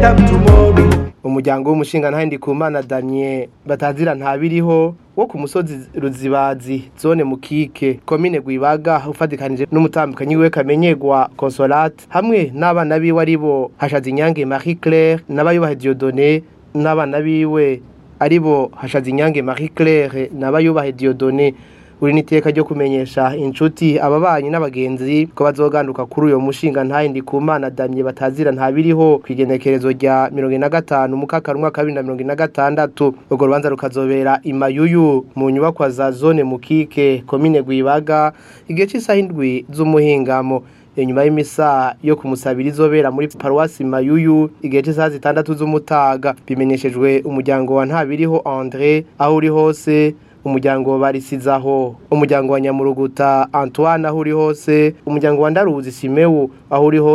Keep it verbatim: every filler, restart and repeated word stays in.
Time tomorrow. Umuryango w'umushinga Ndikumana Damien batazira Ntabiriho wo ku musozi Ruzibazi, zone Mukike, komine Gwibaga, ufatikanije n'umutambukanyi wiwe Kamenyegwa Consolate hamwe n'abana biwe aribo Hashaza Inyange Marie Claire n'Abayubahe Dieudonné, n'abana biwe aribo Hashaza Inyange Marie Claire n'Abayubahe Dieudonné, uri niteka ryo kumenyesha inshuti, ababanyi n'abagenzi ko bazoganduka kuri uyo mushinga ntaye Ndikumana Damien batazira Ntabiriho kwigenekerezo rya mirongo ine na gatanu mukakaro umwaka wa bibiri na mirongo ine na gatandatu. Urwo rubanza rukazobera imayuyu mu nyubakwa za zone Mukike, komine Gwibaga, igihe c'isaha indwi z'umuhingamo, inyuma y'imisa yo kumusabira izobera muri paruwasi Mayuyu igihe c'isaha zitandatu z'umutaga. Bimenyeshejwe umuryango wa Ntabiriho André aho uri hose, umuryango wa Barisizaho, umuryango wa Nyamuruguta Antoine aho uri hose, umuryango wa Ndaruzi Simewu aho uri hose.